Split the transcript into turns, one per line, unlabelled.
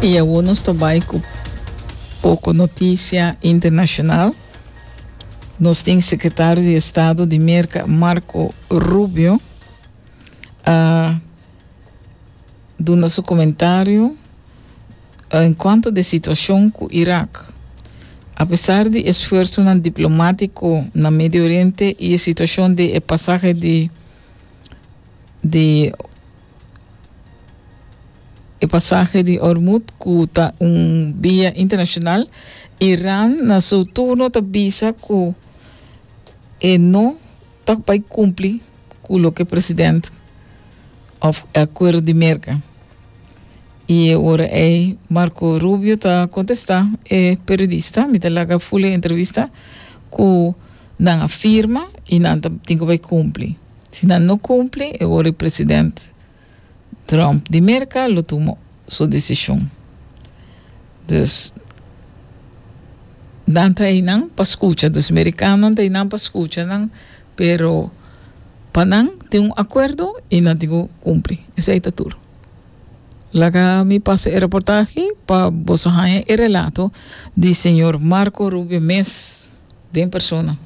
I awor nos ta bai ku poko notisia internashonal. Nos tin sekretario di estado di Merka Marco Rubio a duna su komentario en kuanto di situashon ku Irak. Apesar di esfuersonan diplomátiko na Medio Oriente i e situashon di e pasahe di di e pasahe di Hormuz ku ta un via internashonal, Iran na su turno ta bisa ku e no ta bai kumpli ku loke president òf e akuerdo di Merka. I e ora ei Marco Rubio ta kontestá e periodista, mi ta laga ful e entrevista, ku nan a firma i nan ta tin ku bai kumpli. Si nan no kumpli e ora e president Trump di Merka lo tuma su desishon. Dus nan ta einan pa skucha, dus merikanonan ta einan pa skucha nan, pero pa nan tin un akuerdo i nan tin ku kumpli. Esei ta tur. Laga mi pasa e reportahe pa boso haña e relato di señor Marco Rubio mes den persona.